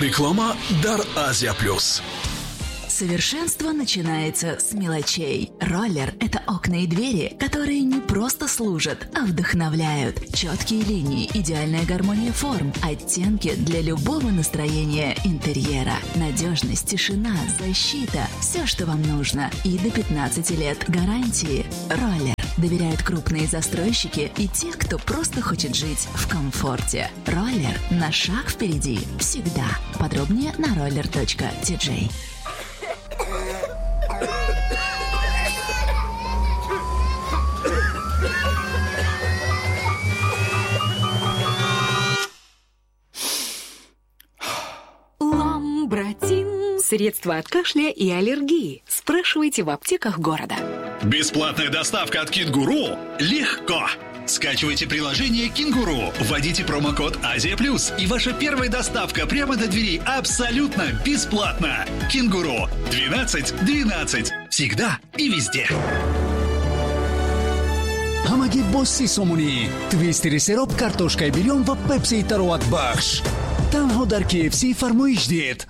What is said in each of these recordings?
Реклама дар Азия Плюс. Совершенство начинается с мелочей. Роллер – это окна и двери, которые не просто служат, а вдохновляют. Четкие линии, идеальная гармония форм, оттенки для любого настроения интерьера. Надежность, тишина, защита – все, что вам нужно. И до 15 лет гарантии. Роллер. Доверяют крупные застройщики и те, кто просто хочет жить в комфорте. Роллер на шаг впереди всегда. Подробнее на roller.tj. Ламбратин. Средства от кашля и аллергии. Спрашивайте в аптеках города. Бесплатная доставка от Кенгуру легко. Скачивайте приложение «Кенгуру», вводите промокод «Азия Плюс», и ваша первая доставка прямо до двери абсолютно бесплатно. «Кенгуру» 12 12. Всегда и везде. Ҳамагӣ бо 30 сомонӣ. Твистери сероб, картошкаи бирён ва пепсии тароватбахш. Танҳо дар KFC фармоиш диҳед.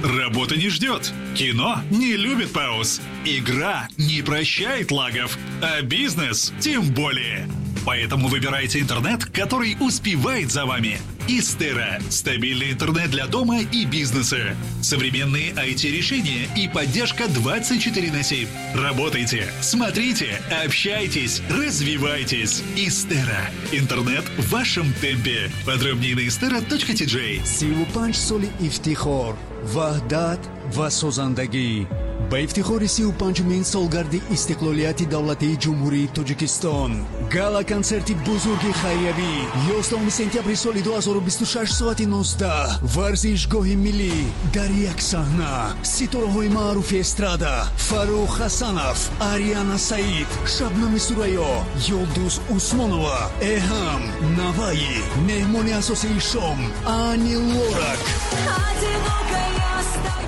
Работа не ждет. Кино не любит пауз. Игра не прощает лагов. А бизнес тем более. Поэтому выбирайте интернет, который успевает за вами. Истера. Стабильный интернет для дома и бизнеса. Современные IT-решения и поддержка 24/7. Работайте, смотрите, общайтесь, развивайтесь. Истера. Интернет в вашем темпе. Подробнее на istera.tj. 35 соли ифтихор, ваҳдат ва созандагӣ. Ба ифтихори 35-умин солгарди истиқлолияти давлатии Ҷумҳурии Тоҷикистон гала-консерти бузурги хайриявӣ 11 сентябри соли 2026 соати 19 варзишгоҳи миллӣ дар як саҳна ситораҳои маъруфи эстрада Фаррух Ҳасанов, Ариана Саид, Шабнами Сурайё, Юлдуз Усмонова, Эҳам, Наваи, меҳмони асосии шом Ани Лорак.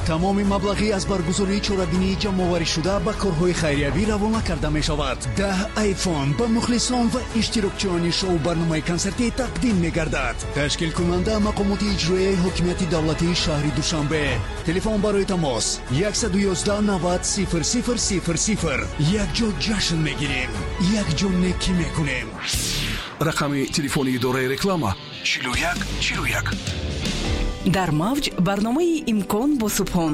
Тамоми маблағӣ аз баргузории чорабинии ҷамъоварӣшуда ба корҳои хайриявӣ равона карда мешавад. 10 айфон ба мухлисон ва иштирокчиёни шоу-барномаи консертӣ тақдим мегардад. Ташкилкунанда мақомоти иҷроияи ҳокимияти давлатии шаҳри Душанбе. Телефон барои тамос 111 90 00 00. Якҷо ҷашн мегирем, якҷо некӣ мекунем. Рақами телефони идораи реклама 41 41. Дар мавҷ барномаи «Имкон» бо Субҳон.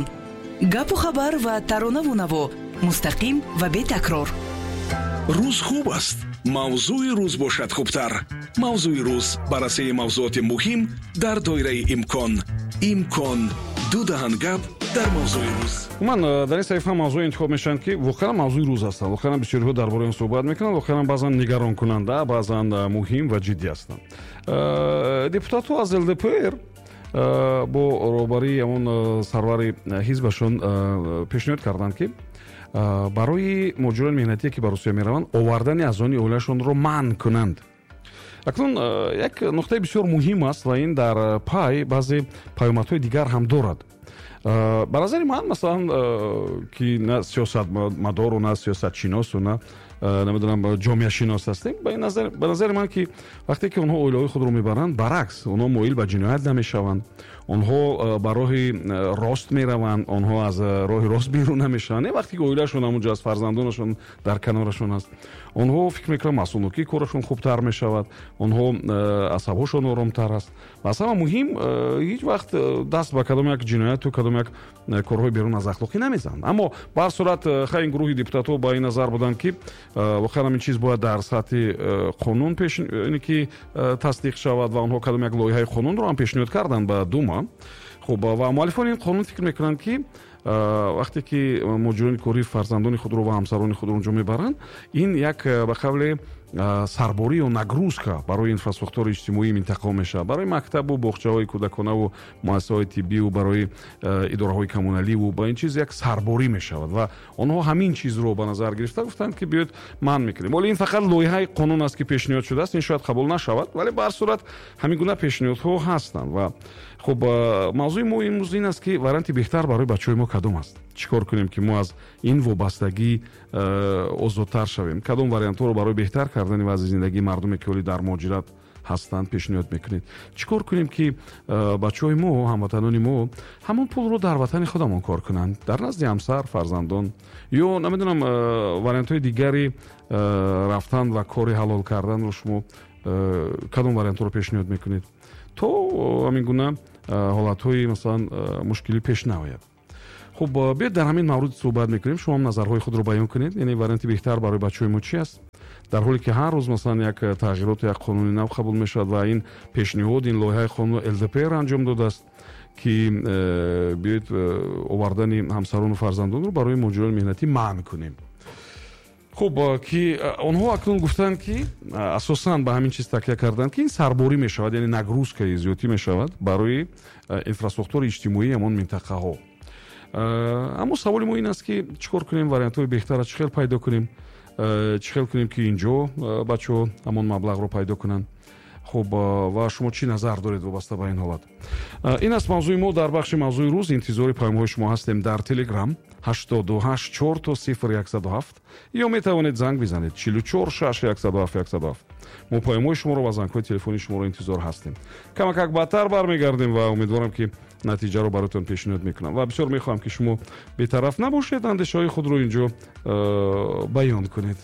Гапу хабар ва таронаву наво мустақим ва бетакрор. Рӯз хуб аст, мавзӯи рӯз бошад хубтар. Мавзӯи рӯз баррасии мавзӯоти муҳим дар доираи имкон. Имкон ду даҳан гап дар мавзӯи рӯз. Умуман дар ин саҳифа мавзӯе интихоб мешаванд, ки воқеан мавзӯи рӯз ҳастанд. Воқеан бисёриҳо дар бораи он суҳбат мекунанд, воқеан баъзан нигаронкунанда, баъзан муҳим ва ҷиддӣ ҳастанд. Депутатҳо аз ЛДПР бо роҳбарии ҳамон сарвари ҳизбашон пешниҳод карданд, ки барои муҳоҷирони меҳнатие, ки ба Русия мераванд, овардани аъзони оилашонро манъ кунанд. Акнун як нуқтаи бисёр муҳим аст ва ин дар пай баъзе паёмадҳои дигар ҳам дорад. Ба назари ман, масалан, ки на сиёсатмадору, на сиёсатшиносу, на намедонам ҷомеашинос ҳастем, ба назари ман, ки вақте ки онҳо оилаҳои худро мебаранд, баръакс, онҳо моил ба ҷиноят намешаванд, онҳо ба роҳи рост мераванд, онҳо аз роҳи рост берун намешаванд. Не, вақте ки оилаашон ҳамунҷо аст, фарзандонашон дар канорашон аст, онҳо фикр мекунанд масъулнокии корашон хубтар мешавад, онҳо асабҳошон оромтар аст. Ва аз ҳама муҳим, ҳеҷ вақт даст ба кадом як ҷинояту кадом як корҳои берун аз ахлоқӣ намезананд. Аммо ба ҳар сурат, хай, ин гурӯҳи депутатҳо ба ин назар буданд, ки воқеан ҳамин чиз бояд дар сатҳи қонун ки тасдиқ шавад ва онҳо кадом як лоиҳаи қонунро ҳам пешниҳод карданд ба Дума. Хуб, ва муаллифони ин қонун фикр мекунанд, ки вақте ки муҳоҷирони корӣ фарзандони худро ва ҳамсарони худро онҷо мебаранд, ин як ба қавле сарборӣ ё нагрузка барои инфраструктураи иҷтимоии минтақаҳо мешавад, барои мактабу боғчаҳои кӯдаконаву муассисаҳои тиббиву барои идораҳои коммуналиву ба ин чиз як сарборӣ мешавад. Ва онҳо ҳамин чизро ба назар гирифта гуфтанд, ки биёед манъ мекунем. Вале ин фақат лоиҳаи қонун аст, ки пешниҳод шудааст, ин шояд қабул нашавад, вале ба ҳар сурат ҳамин гуна пешниҳодҳо ҳастанд. Ва хуб, мавзӯи мо имрӯз ин аст, ки варианти беҳтар барои бачаҳои мо кадом аст? Чӣ кор кунем, ки мо аз ин вобастагӣ озодтар шавем? Кадом вариантҳоро барои беҳтар кардани вазъи зиндагии мардуме, ки ҳоли дар муҳоҷират ҳастанд, пешниҳод мекунед? Чӣ кор кунем, ки бачаҳои мо, ҳамватанони мо ҳамон пулро дар ватани худамон кор кунанд, дар назди ҳамсар, фарзандон, ё намедонам, вариантҳои дигари рафтан ва кори ҳалол карданро шумо кадом вариантҳоро пешниҳод мекунед, то ҳамин гуна ҳолатҳои, масалан, мушкилӣ пеш наояд? Хуб, биёед, дар ҳамин маврид суҳбат мекунем. Шумо ҳам назарҳои худро баён кунед, яъне варианти беҳтар барои бачаҳои мо чи аст, дар ҳоле ки ҳар рӯз, масалан, як тағйироту як қонуни нав қабул мешавад? Ва ин пешниҳод, ин лоиҳаи қонун ЛДПР анҷом додааст, ки биёед, овардани ҳамсарону фарзандонро барои муҳоҷирони меҳнатӣ манъ кунем. Хуб, ки онҳо акнун гуфтанд, ки асосан ба ҳамин чиз такя карданд, ки ин сарборӣ мешавад, яъне нагрузка и зиёдтӣ мешавад барои инфрасохтори иҷтимоии ҳамон минтақаҳо. Аммо саволи мо ин аст, ки чӣ кор кунем, вариантҳои беҳтарро чӣ хел пайдо кунем, чӣ хел кунем, ки инҷо бачаҳо ҳамон маблағро пайдо кунанд? Хуб, ва шумо чӣ назар доред вобаста ба ин ҳолат? Ин аст мавзӯи мо дар бахши мавзӯи рӯз. Интизори паёмҳои шумо ҳастем дар Телеграм 88 4 0 107, ё метавонед занг бизанед 44 6 107 107. Мо паёмҳои шуморо ва зангҳои телефонии шуморо интизор ҳастем. Камакак баъдтар бармегардем ва умедворам, ки натиҷаро бароятон пешниҳод мекунам, ва бисёр мехоҳам, ки шумо бетараф набошед, андешаҳои худро инҷо баён кунед.